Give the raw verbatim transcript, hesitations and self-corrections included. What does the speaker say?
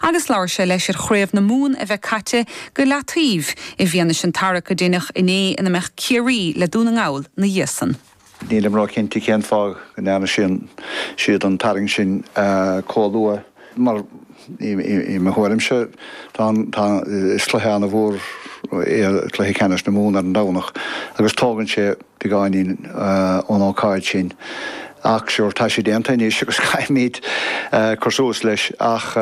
agus labhair sé leis ar Chraobh na Mumhan a bheith caite go leataobh i bhfianaise an tarrac a deineadh inné ina mbeadh Ciarraí le Dún na nGall ina dhiaidh san. Nílim róchinnte cén fáth go ndearna sin siad an tarraingt sin chomh luath mar i mo thuairimse tá is cluiche an-mhór é cluiche ceannais na Mumhan ar an Domhnach agus tógann sé beagáinín ón ócáid sin. Ach sure tá sé déanta anois agus caithfimid cur suas leis ach